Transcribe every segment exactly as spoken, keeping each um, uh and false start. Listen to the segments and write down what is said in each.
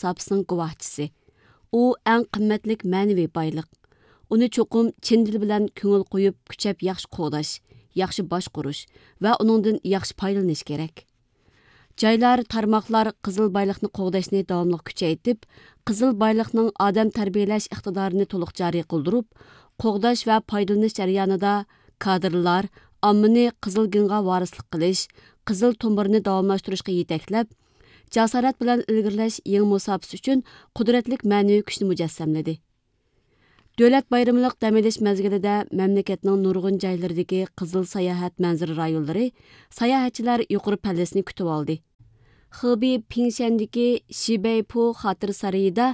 مۇساپىسىنىڭ گۇۋاھچىسى. ئۇ ئەڭ قىممەتلىك مەنىۋى بايلىق. ئۇنى چوقۇم چىن دىل بىلەن كۆڭۈل قويۇپ، كۈچەپ ياخشى قوغداش، ياخشى باشقۇرۇش ۋە ئۇنىڭدىن ياخشى پايدىلىنىش كېرەك. جايلار، تارماقلار قىزىل بايلىقنى قوغداشنى داۋاملىق كۈچەيتىپ، قىزىل بايلىقنىڭ ئادەم تەربىيەلەش ئىقتىدارىنى تولۇق جارى قىلدۇرۇپ، قوغداش ۋە پايدىلىنىش جەريانىدا كادىرلار، ئاممىنى قىزىل گېنغا ۋارىسلىق قىلىش، قىزىل تومۇرنى داۋاملاشتۇرۇشقا يېتەكلەپ، جاسارەت بىلەن ئىلگىرىلەش يېڭى مۇساپىسى ئۈچۈن قۇدرەتلىك مەنىۋى كۈچنى مۇجەسسەملىدى. دۆلەت بايرىملىق دەم ئېلىش مەزگىلىدە مەملىكەتنىڭ نۇرغۇن جايلىرىدىكى قىزىل ساياھەت مەنزىرە رايونلىرى ساياھەتچىلەر يۇقىرى پەللىسىنى كۈتۈۋالدى. خېبېي پىڭشەندىكى شىبەيپۇ خاتىرە سارىيىدا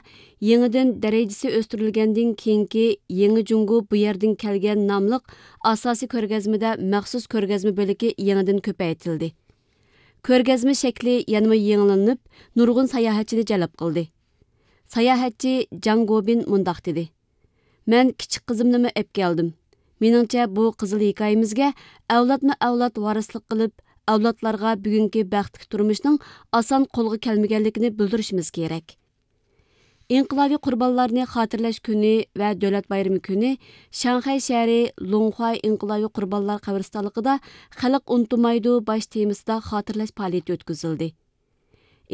يېڭىدىن دەرىجىسى ئۆستۈرۈلگەندىن كېيىنكى يېڭى جۇڭگو بۇ يەردىن كەلگەن ناملىق ئاساسىي كۆرگەزمىدە مەخسۇس كۆرگەزمە بۆلىكى يېڭىدىن كۆپەيتىلدى. كۆرگەزمە شەكلى يەنىمۇ يېڭىلىنىپ، نۇرغۇن ساياھەتچىنى جەلپ قىلدى. ساياھەتچى جاڭ گوبىن مۇنداق دېدى: مەن كىچىك قىزىمنىمۇ ئەپ كەلدىم. مېنىڭچە، بۇ قىزىل ھېكايىمىزگە ئەۋلادمۇ ئەۋلاد ۋارىسلىق قىلىپ، ئەۋلادلارغا بۈگۈنكى بەختلىك تۇرمۇشنىڭ ئاسان قولغا كەلمىگەنلىكىنى بىلدۈرۈشىمىز كېرەك. ئىنقىلابىي قۇربانلارنى خاتىرىلەش كۈنى ۋە دۆلەت بايرىمى كۈنى شاڭخەي شەھىرى لۇڭخۇا ئىنقىلابىي قۇربانلار قەبرىستانلىقىدا خەلق ئۇنتۇمايدۇ باش تېمىسىدا خاتىرىلەش پائالىيىتى ئۆتكۈزۈلدى.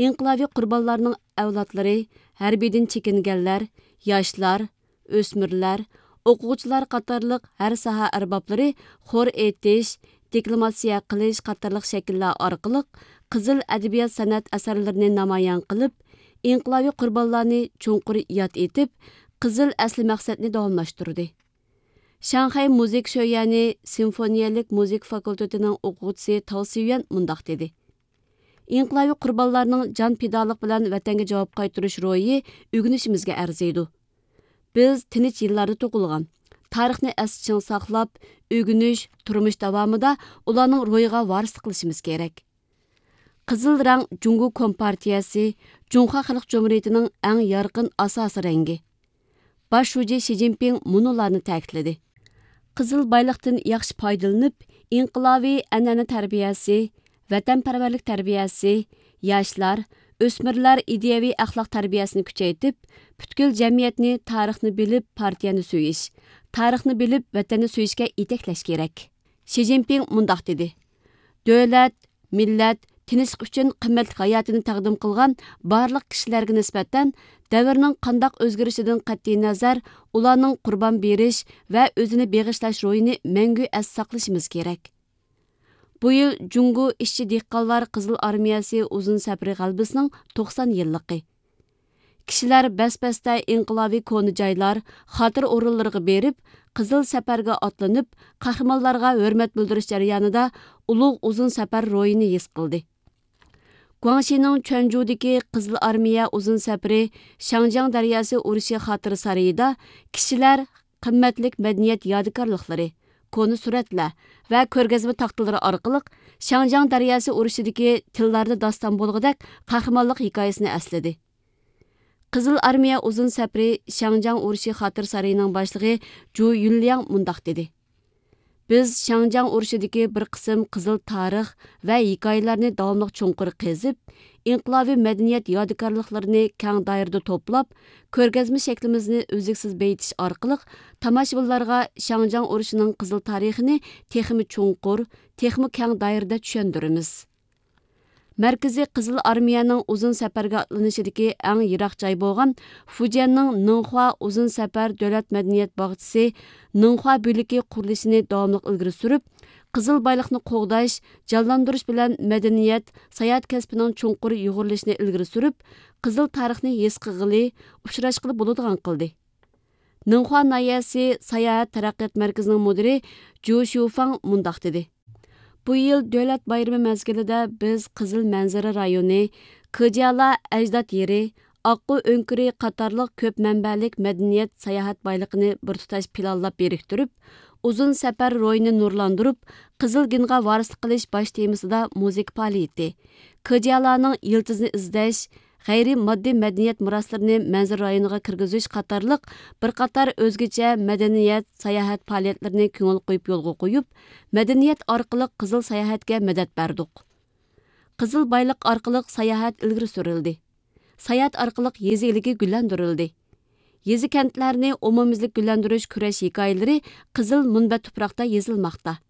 ئىنقىلابىي قۇربانلارنىڭ ئەۋلادلىرى، ھەربىيدىن چېكىنگەنلەر، ياشلار، ئۆسمۈرلەر، ئوقۇغۇچىلار قاتارلىق ھەر ساھە ئەربابلىرى خور ئېيتىش، دېكلاماتسىيە قىلىش قاتارلىق شەكىللەر ئارقىلىق قىزىل ئەدەبىيات سەنئەت ئەسەرلىرىنى نامايان قىلىپ، ئىنقىلابىي قۇربانلارنى چوڭقۇر ياد ئېتىپ، قىزىل ئەسلى مەقسەتنى داۋاملاشتۇردى. شاڭخەي مۇزىكا شۆيۈەنى سىمفونىيەلىك مۇزىكا فاكۇلتېتىنىڭ ئوقۇغۇچىسى تاۋ سىيۈەن مۇنداق دېدى: ئىنقىلابىي قۇربانلارنىڭ جان پىدالىق بىلەن ۋەتەنگە جاۋاب قايتۇرۇش روھى ئۆگىنىشىمىزگە ئەرزىيدۇ. بىز تىنچ يىللاردا تۇغۇلغان، تارىخنى ئەستە چىڭ ساقلاپ، ئۆگىنىش، تۇرمۇش داۋامىدا ئۇلارنىڭ روھىغا ۋارىسلىق قىلىشىمىز كېرەك. قىزىل رەڭ جۇڭگو كومپارتىيەسى، جۇڭخۇا خەلق جۇمھۇرىيىتىنىڭ ئەڭ يارقىن ئاساسىي رەڭگى. باش شۇجى شى جىنپىڭ مۇنۇلارنى تەكىتلىدى: قىزىل بايلىقتىن ياخشى پايدىلىنىپ، ئىنقىلابىي ئەنئەنە تەربىيەسى، ۋەتەنپەرۋەرلىك تەربىيەسى، ياشلار، ئۆسمۈرلەر ئىدىيەۋى ئەخلاق تەربىيەسىنى كۈچەيتىپ، پۈتكۈل جەمئىيەتنى تارىخنى بىلىپ پارتىيەنى سۆيۈش، تارىخنى بىلىپ ۋەتەننى سۆيۈشكە يېتەكلەش كېرەك. شى جىنپىڭ مۇنداق دېدى: دۆلەت، مىللەت، تىنچلىق ئۈچۈن قىممەتلىك ھاياتىنى تەقدىم قىلغان بارلىق كىشىلەرگە نىسبەتەن دەۋرنىڭ قانداق ئۆزگىرىشىدىن قەتئىينەزەر، ئۇلارنىڭ قۇربان بېرىش ۋە ئۆزىنى بېغىشلاش روھىنى مەڭگۈ ئەستە ساقلىشىمىز كېرەك. بۇ يىل جۇڭگو ئىشچى دېھقانلار قىزىل ئارمىيەسى ئۇزۇن سەپىرى غەلىبىسىنىڭ توقسان يىللىقى. كىشىلەر بەس-بەستە ئىنقىلابىي كونا جايلار، خاتىرە ئورۇنلىرىغا بېرىپ، قىزىل سەپەرگە ئاتلىنىپ، قەھرىمانلارغا ھۆرمەت بىلدۈرۈش جەريانىدا ئۇلۇغ ئۇزۇن سەپەر روھىنى ھېس قىلدى. گۇاڭشىنىڭ چۈەنجۇدىكى قىزىل ئارمىيە ئۇزۇن سەپىرى شاڭجياڭ دەرياسى ئۇرۇشى خاتىرە سارىيىدا كىشىلەر قىممەتلىك مەدەنىيەت يادىكارلىقلىرى، كونا سۈرەتلەر ۋە كۆرگەزمە تاختىلىرى ئارقىلىق شاڭجياڭ دەرياسى ئۇرۇشىدىكى تىللاردا داستان بولغۇدەك قەھرىمانلىق ھېكايىسىنى ئەسلىدى. قىزىل ئارمىيە ئۇزۇن سەپىرى شياڭجياڭ ئۇرۇشى خاتىرە سارىيىنىڭ باشلىقى جۇ يۈنلياڭ مۇنداق دېدى: بىز شياڭجياڭ ئۇرۇشىدىكى بىر قىسىم قىزىل تارىخ ۋە ھېكايىلەرنى داۋاملىق چوڭقۇر قېزىپ، ئىنقىلابىي مەدەنىيەت يادىكارلىقلىرىنى كەڭ دائىرىدە توپلاپ، كۆرگەزمە شەكلىمىزنى ئۈزلۈكسىز بېيىتىش ئارقىلىق تاماشىبىنلارغا شياڭجياڭ ئۇرۇشىنىڭ قىزىل تارىخىنى تېخىمۇ چوڭقۇر، تېخىمۇ كەڭ دائىرىدە چۈشەندۈرىمىز. مەركىزىي قىزىل ئارمىيەنىڭ ئۇزۇن سەپەرگە ئاتلىنىشىدىكى ئەڭ يىراق جاي بولغان فۇجيەننىڭ نىڭخۇا ئۇزۇن سەپەر دۆلەت مەدەنىيەت باغچىسى نىڭخۇا بۆلىكى قۇرۇلۇشىنى داۋاملىق ئىلگىرى سۈرۈپ، قىزىل بايلىقنى قوغداش، جانلاندۇرۇش بىلەن مەدەنىيەت، ساياھەت كەسپىنىڭ چوڭقۇر يۇغۇرۇلۇشىنى ئىلگىرى سۈرۈپ، قىزىل تارىخنى ھېس قىلغىلى، ئۇچراشقىلى بولىدىغان قىلدى. نىڭخۇا ناھىيەسى ساياھەت تەرەققىيات مەركىزىنىڭ مۇدىرى جۇ شيۇفاڭ مۇنداق دېدى: بۇ يىل دۆلەت بايرىمى مەزگىلىدە بىز قىزىل مەنزىرە رايونى، كېجيالا ئەجداد يېرى، ئاققۇ ئۆڭكۈرى قاتارلىق كۆپ مەنبەلىك مەدەنىيەت ساياھەت بايلىقىنى بىر تۇتاش پىلانلاپ بىرىكتۈرۈپ، ئۇزۇن سەپەر روھىنى نۇرلاندۇرۇپ، قىزىل گېنغا ۋارىسلىق قىلىش باش تېمىسىدا مۇزىكا پائالىيىتى، كېجيالانىڭ يىلتىزىنى ئىزدەش، غەيرىي ماددىي مەدەنىيەت مىراسلىرىنى مەنزىرە رايونىغا كىرگۈزۈش قاتارلىق بىر قاتار ئۆزگىچە مەدەنىيەت، ساياھەت پائالىيەتلىرىنى كۆڭۈل قويۇپ يولغا قويۇپ، مەدەنىيەت ئارقىلىق قىزىل ساياھەتكە مەدەت بەردۇق. قىزىل بايلىق ئارقىلىق ساياھەت ئىلگىرى سۈرۈلدى. ساياھەت ئارقىلىق يېزا ئىگىلىكى گۈللەندۈرۈلدى. يېزا كەنتلەرنى ئومۇميۈزلۈك گۈللەندۈرۈش كۈرەش ھېكايىلىرى قىزىل مۇنبەت تۇپراقتا يېزىلماقتا.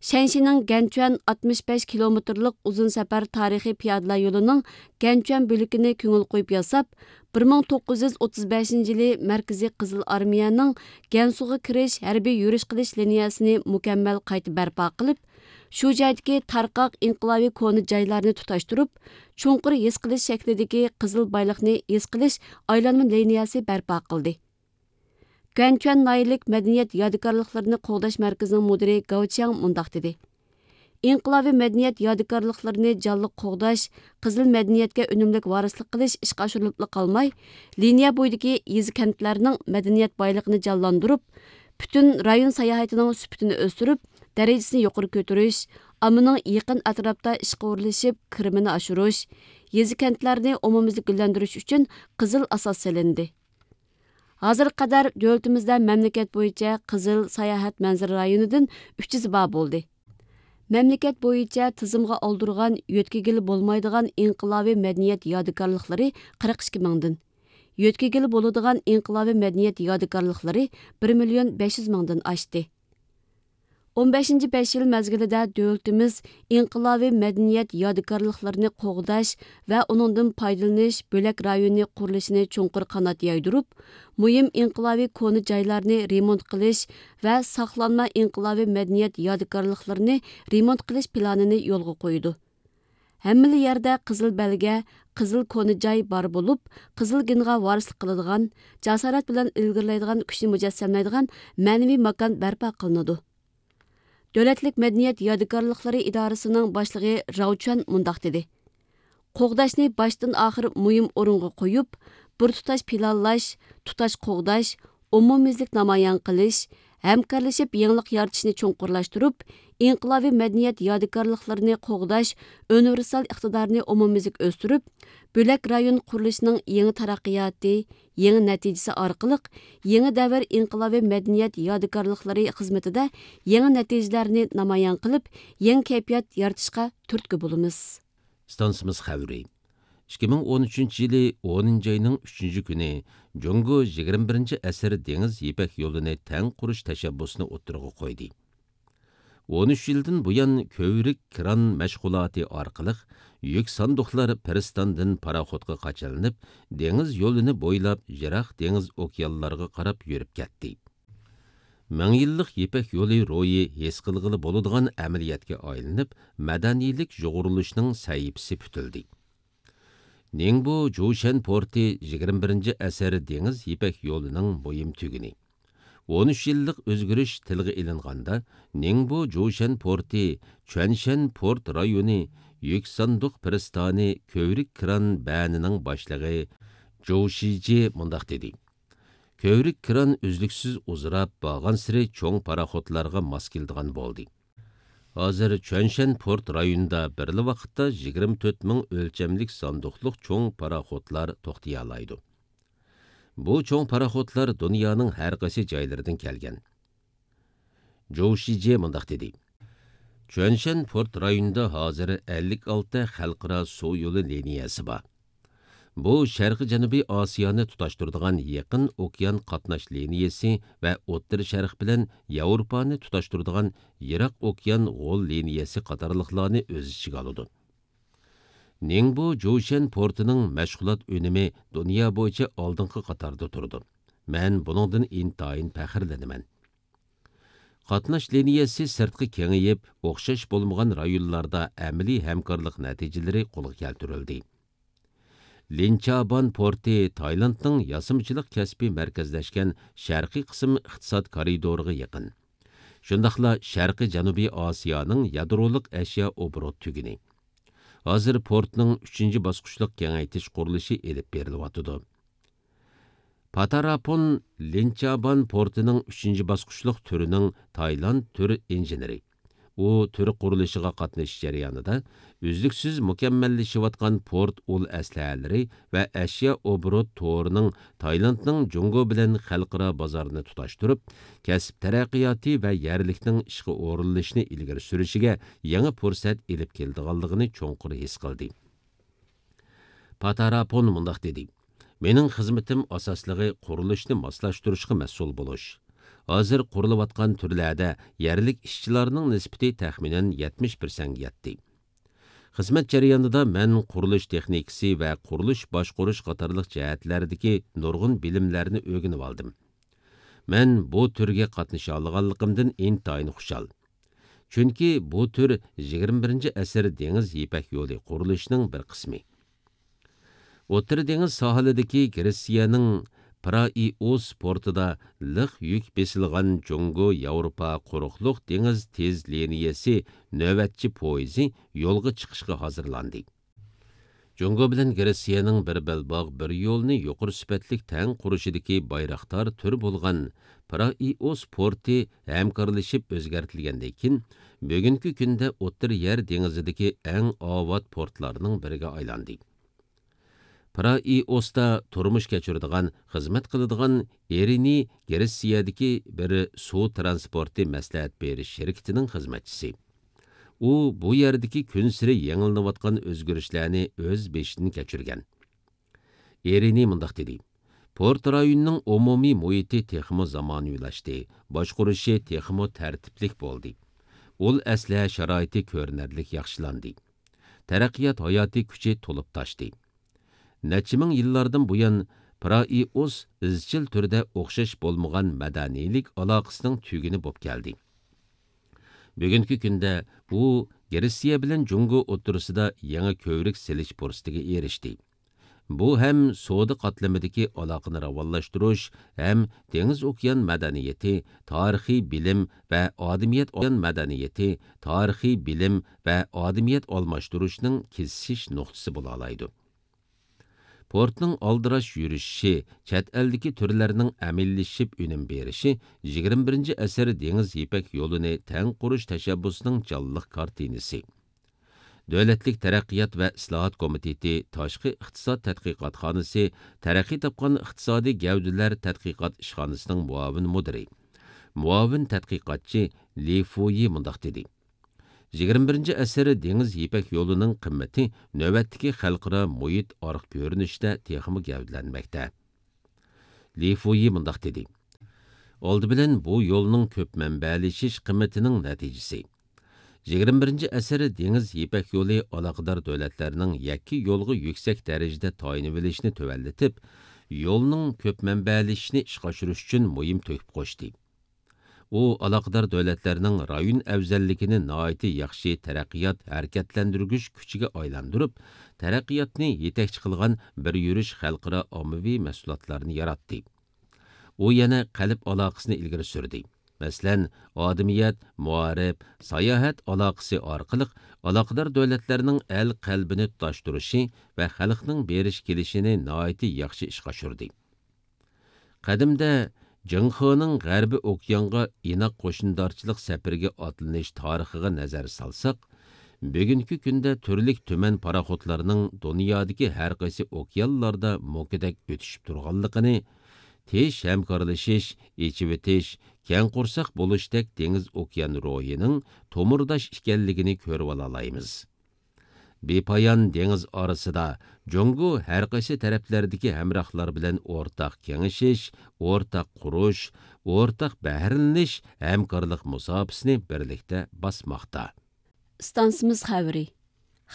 شەنشىنىڭ گەنچۈەن ئاتمىش بەش كىلومېتىرلىق ئۇزۇن سەپەر تارىخىي پىيادىلەر يولىنىڭ گەنچۈەن بۆلىكىنى كۆڭۈل قويۇپ ياساپ، بىر مىڭ توققۇز يۈز ئوتتۇز بەشىنچى يىلى مەركىزىي قىزىل ئارمىيەنىڭ گەنسۇغا كىرىش ھەربىي يۈرۈش قىلىش لىنىيەسىنى مۇكەممەل قايتا بەرپا قىلىپ، شۇ جايدىكى تارقاق ئىنقىلابىي كونا جايلارنى تۇتاشتۇرۇپ، چوڭقۇر ھېس قىلىش شەكلىدىكى قىزىل بايلىقنى ھېس قىلىش ئايلانما لىنىيەسى بەرپا قىلدى. گۇەنچۈەن ناھىيەلىك مەدەنىيەت يادىكارلىقلىرىنى قوغداش مەركىزىنىڭ مۇدىرى گاۋ چياڭ مۇنداق دېدى: ئىنقىلابىي مەدەنىيەت يادىكارلىقلىرىنى جانلىق قوغداش، قىزىل مەدەنىيەتكە ئۈنۈملۈك ۋارىسلىق قىلىش ئىشقا ئاشۇرۇلۇپلا قالماي، لىنىيە بويىدىكى يېزا كەنتلەرنىڭ مەدەنىيەت بايلىقىنى جانلاندۇرۇپ، پۈتۈن رايون ساياھىتىنىڭ سۈپىتىنى ئۆستۈرۈپ، دەرىجىسىنى يۇقىرى كۆتۈرۈش، ئاممىنىڭ يېقىن ئەتراپتا ئىشقا ئورۇنلىشىپ، كىرىمىنى ئاشۇرۇش، يېزا كەنتلەرنى ئومۇميۈزلۈك گۈللەندۈرۈش ئۈچۈن قىزىل ئاساس سېلىندى. ھازىرغا قەدەر دۆلىتىمىزدە مەملىكەت بويىچە قىزىل ساياھەت مەنزىرە رايونىدىن ئۈچ يۈز بار بولدى. مەملىكەت بويىچە تىزىمغا ئالدۇرغان يۆتكىگىلى بولمايدىغان ئىنقىلابىي مەدەنىيەت يادىكارلىقلىرى قىرىق ئىككى مىڭدىن، يۆتكىگىلى بولىدىغان ئىنقىلابىي مەدەنىيەت يادىكارلىقلىرى بىر مىليون بەش يۈز مىڭدىن ئاشتى. ئون بەشىنچى بەش يىل مەزگىلىدە دۆلىتىمىز ئىنقىلابىي مەدەنىيەت يادىكارلىقلىرىنى قوغداش ۋە ئۇنىڭدىن پايدىلىنىش بۆلەك رايونى قۇرۇلۇشىنى چوڭقۇر قانات يايدۇرۇپ، مۇھىم ئىنقىلابىي كونا جايلارنى رېمونت قىلىش ۋە ساقلانما ئىنقىلابىي مەدەنىيەت يادىكارلىقلىرىنى رېمونت قىلىش پىلانىنى يولغا قويىدۇ. ھەممىلا يەردە قىزىل بەلگە، قىزىل كونا جاي بار بولۇپ، قىزىل گېنغا ۋارىسلىق قىلىدىغان، جاسارەت بىلەن ئىلگىرىلەيدىغان كۈچنى مۇجەسسەملەيدىغان مەنىۋى ماكان بەرپا قىلىنىدۇ. دۆلەتلىك مەدەنىيەت يادىكارلىقلىرى ئىدارىسىنىڭ باشلىقى راۋ چۈەن مۇنداق دېدى: قوغداشنى باشتىن ئاخىر مۇھىم ئورۇنغا قويۇپ، بىر تۇتاش پىلانلاش، تۇتاش قوغداش، ئومۇميۈزلۈك نامايان قىلىش، ھەمكارلىشىپ يېڭىلىق يارىتىشنى چوڭقۇرلاشتۇرۇپ، ئىنقىلابىي مەدەنىيەت يادىكارلىقلىرىنى قوغداش ئۇنىۋېرسال ئىقتىدارىنى ئومۇميۈزلۈك ئۆستۈرۈپ، بۆلەك رايون قۇرۇلۇشىنىڭ يېڭى تەرەققىياتى، يېڭى نەتىجىسى ئارقىلىق يېڭى دەۋر ئىنقىلابىي مەدەنىيەت يادىكارلىقلىرى خىزمىتىدە يېڭى نەتىجىلەرنى نامايان قىلىپ، يېڭى كەيپىيات يارىتىشقا تۈرتكە بولىمىز. ئىستانسىمىز خەۋىرى. ئىككى مىڭ ئون ئۈچىنچى يىلى ئونىنچى ئاينىڭ ئۈچىنچى كۈنى جۇڭگو يىگىرمە بىرىنچى ئەسىر دېڭىز يىپەك يولىنى تەڭ قۇرۇش تەشەببۇسىنى ئوتتۇرىغا قويدى. ئون ئۈچ يىلدىن بۇيان كۆۋرۈك كران مەشغۇلاتى ئارقىلىق يۈك ساندۇقلار پىرىستاندىن پاراخوتقا قاچىلىنىپ، دېڭىز يولىنى بويلاپ يىراق دېڭىز ئوكيانلارغا قاراپ يۈرۈپ كەتتى. مىڭ يىللىق يىپەك يولى روھى ھېس قىلغىلى بولىدىغان ئەمەلىيەتكە ئايلىنىپ، مەدەنىيلىك يۇغۇرۇلۇشنىڭ سەھىپىسى پۈتۈلدى. نىڭبو جۇشەن پورتى يىگىرمە بىرىنچى ئەسىر دېڭىز يىپەك يولىنىڭ مۇھىم تۈگۈنى. ئون ئۈچ يىللىق ئۆزگىرىش تىلغا ئېلىنغاندا، نىڭبو جۇشەن پورتى چۈەنشەن پورت رايونى يۈك ساندۇق پىرىستانى كۆۋرۈك كران بەنىنىڭ باشلىقى جۇ شىجى مۇنداق دېدى: كۆۋرۈك كران ئۈزلۈكسىز ئۇزىراپ، بارغانسېرى چوڭ پاراخوتلارغا ماس كېلىدىغان بولدى. ھازىر چۈەنشەن پورت رايونىدا بىرلا ۋاقىتتا يىگىرمە تۆت مىڭ ئۆلچەملىك ساندۇقلۇق چوڭ پاراخوتلار توختىيالايدۇ. بۇ چوڭ پاراخوتلار دۇنيانىڭ ھەر قايسى جايلىرىدىن كەلگەن. جوۋ شىجيې مۇنداق دېدى: چۈەنشەن پورت رايونىدا ھازىر ئەللىك ئالتە خەلقئارا سۇ يولى لىنىيەسى بار. بۇ شەرقىي جەنۇبىي ئاسىيانى تۇتاشتۇرىدىغان يېقىن ئوكيان قاتناش لىنىيەسى ۋە ئوتتۇرا شەرق بىلەن ياۋروپانى تۇتاشتۇرىدىغان يىراق ئوكيان غول لىنىيەسى قاتارلىقلارنى ئۆز ئىچىگە ئالىدۇ. نىڭبو جۇشەن پورتىنىڭ مەشغۇلات ئۈنۈمى دۇنيا بويىچە ئالدىنقى قاتاردا تۇرىدۇ. مەن بۇنىڭدىن ئىنتايىن پەخىرلىنىمەن. قاتناش لىنىيەسى سىرتقا كېڭىيىپ، ئوخشاش بولمىغان رايونلاردا ئەمەلىي ھەمكارلىق نەتىجىلىرى قولغا كەلتۈرۈلدى. لىنچابان پورتى تايلاندنىڭ ياسىمىچىلىق كەسپى مەركەزلەشكەن شەرقىي قىسىم ئىقتىساد كارىدورىغا يېقىن. شۇنداقلا شەرقىي جەنۇبىي ئاسىيانىڭ يادرولۇق ئەشيا ئوبوروت تۈگۈنى. ھازىر پورتنىڭ ئۈچىنچى باسقۇچلۇق كېڭەيتىش قۇرۇلۇشى ئېلىپ بېرىلىۋاتىدۇ. پاتاراپون لىنچابان پورتىنىڭ ئۈچىنچى باسقۇچلۇق تۈرىنىڭ تايلاند تۈر ئىنژېنېرى. ئۇ تۈر قۇرۇلۇشىغا قاتنىشىش جەريانىدا ئۈزلۈكسىز مۇكەممەللىشىۋاتقان پورت ئۇل ئەسلىھەلىرى ۋە ئەشيا ئوبوروت تورىنىڭ تايلاندنىڭ جۇڭگو بىلەن خەلقئارا بازارنى تۇتاشتۇرۇپ، كەسىپ تەرەققىياتى ۋە يەرلىكنىڭ ئىشقا ئورۇنلىشىشىنى ئىلگىرى سۈرۈشىگە يېڭى پۇرسەت ئېلىپ كېلىدىغانلىقىنى چوڭقۇر ھېس قىلدى. پاتاراپون مۇنداق دېدى: مېنىڭ خىزمىتىم ئاساسلىقى قۇرۇلۇشنى ماسلاشتۇرۇشقا مەسئۇل بولۇش. ھازىر قۇرۇلۇۋاتقان تۈرلەردە يەرلىك ئىشچىلارنىڭ نىسبىتى تەخمىنەن يەتمىش پىرسەنتكە يەتتى. خىزمەت جەريانىدا مەن قۇرۇلۇش تېخنىكىسى ۋە قۇرۇلۇش باشقۇرۇش قاتارلىق جەھەتلەردىكى نۇرغۇن بىلىملەرنى ئۆگىنىۋالدىم. مەن بۇ تۈرگە قاتنىشالىغانلىقىمدىن ئىنتايىن خۇشال. چۈنكى بۇ تۈر يىگىرمە بىرىنچى ئەسىر دېڭىز يىپەك يولى قۇرۇلۇشىنىڭ بىر قىسمى. ئوتتۇرا دېڭىز ساھىلىدىكى گرېتسىيەنىڭ پرائىئوس پورتىدا لىق يۈك بېسىلغان جۇڭگو ياۋروپا قۇرۇقلۇق دېڭىز تېز لىنىيەسى نۆۋەتچى پويىزى يولغا چىقىشقا ھازىرلاندى. جۇڭگو بىلەن گرېتسىيەنىڭ بىر بەلباغ، بىر يولنى يۇقىرى سۈپەتلىك تەڭ قۇرۇشىدىكى بايراقدار تۈر بولغان پرائىئوس پورتى ھەمكارلىشىپ ئۆزگەرتىلگەندىن كېيىن، بۈگۈنكى كۈندە ئوتتۇرا يەر دېڭىزىدىكى ئەڭ ئاۋات پورتلارنىڭ بىرىگە ئايلاندى. پرائىئوستا تۇرمۇش كەچۈرىدىغان، خىزمەت قىلىدىغان ئېرىنى گرېتسىيەدىكى بىر سۇ ترانسپورتى مەسلىھەت بېرىش شىركىتىنىڭ خىزمەتچىسى. ئۇ بۇ يەردىكى كۈنسېرى يېڭىلىنىۋاتقان ئۆزگىرىشلەرنى ئۆز بېشىدىن كەچۈرگەن. ئېرىنى مۇنداق دېدى: پورت رايونىنىڭ ئومۇمىي مۇھىتى تېخىمۇ زامانىۋىلاشتى، باشقۇرۇشى تېخىمۇ تەرتىپلىك بولدى. ئۇل ئەسلىھە شارائىتى كۆرۈنەرلىك ياخشىلاندى. تەرەققىيات ھاياتىي كۈچى تولۇپ تاشتى. نەچچە مىڭ يىللاردىن بۇيان، پرائىئوس ئىزچىل تۈردە ئوخشاش بولمىغان مەدەنىيلىك ئالاقىسىنىڭ تۈگۈنى بولۇپ كەلدى. بۈگۈنكى كۈندە ئۇ گرېتسىيە بىلەن جۇڭگو ئوتتۇرىسىدا يېڭى كۆۋرۈك سېلىش پۇرسىتىگە ئېرىشتى. بۇ ھەم سودا قاتلىمىدىكى ئالاقىنى راۋانلاشتۇرۇش، ھەم دېڭىز ئوكيان مەدەنىيىتى، تارىخىي بىلىم ۋە ئادەمىيەت مەدەنىيىتى، تارىخىي بىلىم ۋە ئادەمىيەت ئالماشتۇرۇشنىڭ كېسىشىش نۇقتىسى بولالايدۇ. پورتنىڭ ئالدىراش يۈرۈشۈشى، چەت ئەلدىكى تۈرلەرنىڭ ئەمەلىيلىشىپ ئۈنۈم بېرىشى يىگىرمە بىرىنچى ئەسىر دېڭىز يىپەك يولىنى تەڭ قۇرۇش تەشەببۇسىنىڭ جانلىق كارتىنىسى. دۆلەتلىك تەرەققىيات ۋە ئىسلاھات كومىتېتى تاشقى ئىقتىساد تەتقىقاتخانىسى تەرەققىي تاپقان ئىقتىسادىي گەۋدىلەر تەتقىقات ئىشخانىسىنىڭ مۇئاۋىن مۇدىرى، مۇئاۋىن تەتقىقاتچى لى فۇيى مۇنداق دېدى: يىگىرمە بىرىنچى ئەسىر دېڭىز يىپەك يولىنىڭ قىممىتى نۆۋەتتىكى خەلقئارا مۇھىت ئارقا كۆرۈنۈشىدە تېخىمۇ گەۋدىلەنمەكتە. لى فۇيى مۇنداق دېدى: ئالدى بىلەن بۇ يولنىڭ كۆپ مەنبەلىشىش قىممىتىنىڭ نەتىجىسى. يىگىرمە بىرىنچى ئەسىر دېڭىز يىپەك يولى ئالاقىدار دۆلەتلەرنىڭ يەككە يولغا يۈكسەك دەرىجىدە تايىنىۋېلىشىنى تۆۋەنلىتىپ، يولنىڭ كۆپ مەنبەلىشىشىنى ئىشقا ئاشۇرۇش ئۈچۈن مۇھىم تۆھپە قوشتى. ئۇ ئالاقىدار دۆلەتلەرنىڭ رايون ئەۋزەللىكىنى ناھايىتى ياخشى تەرەققىيات ھەرىكەتلەندۈرگۈچ كۈچىگە ئايلاندۇرۇپ، تەرەققىياتنى يېتەكچى قىلغان بىر يۈرۈش خەلقئارا ئاممىۋى مەھسۇلاتلارنى ياراتتى. ئۇ يەنە قەلب ئالاقىسىنى ئىلگىرى سۈردى. مەسىلەن، ئادىمىيەت، مائارىپ، ساياھەت ئالاقىسى ئارقىلىق ئالاقىدار دۆلەتلەرنىڭ ئەل قەلبىنى تۇتاشتۇرۇشى ۋە خەلقنىڭ بېرىش كېلىشىنى ناھايىتى ياخشى ئىشقا ئاشۇردى. قەدىمدە جىڭخېنىڭ غەربىي ئوكيانغا ئىناق قوشنىدارچىلىق سەپىرىگە ئاتلىنىش تارىخىغا نەزەر سالساق، بۈگۈنكى كۈندە تۈرلۈك تۈمەن پاراخوتلارنىڭ دۇنيادىكى ھەر قايسى ئوكيانلاردا موكىدەك ئۆتۈشۈپ تۇرغانلىقىنى، تىنچ ھەمكارلىشىش، ئېچىۋېتىش، كەڭ قورساق بولۇشتەك دېڭىز ئوكيان روھىنىڭ تومۇرداش ئىكەنلىكىنى كۆرۈۋالالايمىز. بىپايان دېڭىز ئارىسىدا جۇڭگو ھەر قايسى تەرەپلەردىكى ھەمراھلار بىلەن ئورتاق كېڭىشىش، ئورتاق قۇرۇش، ئورتاق بەھرىلىنىش ھەمكارلىق مۇساپىسىنى بىرلىكتە باسماقتا. ئىستانسىمىز خەۋىرى.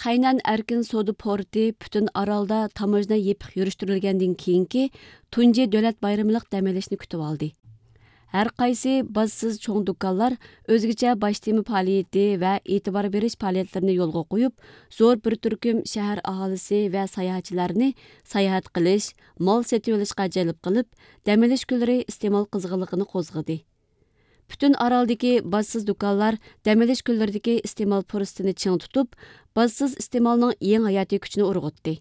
خەينەن ئەركىن سودا پورتى پۈتۈن ئارالدا تاموژنا يېپىق يۈرۈشتۈرۈلگەندىن كېيىنكى تۇنجى دۆلەت بايرىملىق دەم ئېلىشنى كۈتۈۋالدى. ھەر قايسى بازىسىز چوڭ دۇكانلار ئۆزگىچە باش تېما پائالىيىتى ۋە ئېتىبار بېرىش پائالىيەتلىرىنى يولغا قويۇپ، زور بىر تۈركۈم شەھەر ئاھالىسى ۋە ساياھەتچىلەرنى ساياھەت قىلىش، مال سېتىۋېلىشقا جەلپ قىلىپ، دەم ئېلىش كۈنلىرى ئىستېمال قىزغىنلىقىنى قوزغىدى. پۈتۈن ئارالدىكى بازىسىز دۇكانلار دەم ئېلىش كۈنلىرىدىكى ئىستېمال پۇرسىتىنى چىڭ تۇتۇپ، بازىسىز ئىستېمالنىڭ يېڭى ھاياتىي كۈچىنى ئۇرغۇتتى.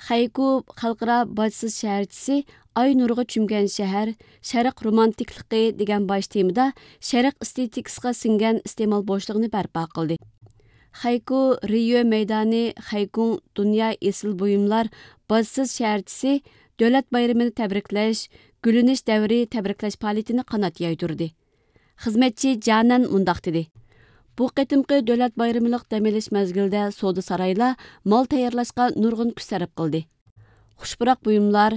خەيكۇ خەلقئارا باجسىز شەھەرچىسى ئاي نۇرىغا چۆمگەن شەھەر، شەرق رومانتىكلىقى دېگەن باش تېمىدا شەرق ئېستېتىكىسىغا سىڭگەن ئىستېمال بوشلۇقىنى بەرپا قىلدى. خەيكۇ رىيو مەيدانى خەيكۇڭ دۇنيا ئېسىل بۇيۇملار باجسىز شەھەرچىسى دۆلەت بايرىمىنى تەبرىكلەش، گۈللىنىش دەۋرى تەبرىكلەش پائالىيىتىنى قانات يايدۇردى. خىزمەتچى جانەن مۇنداق دېدى: بۇ قېتىمقى دۆلەت بايرىملىق دەم ئېلىش مەزگىلىدە سودا سارايلار مال تەييارلاشقا نۇرغۇن كۈچ سەرپ قىلدى. خۇش پۇراق بۇيۇملار،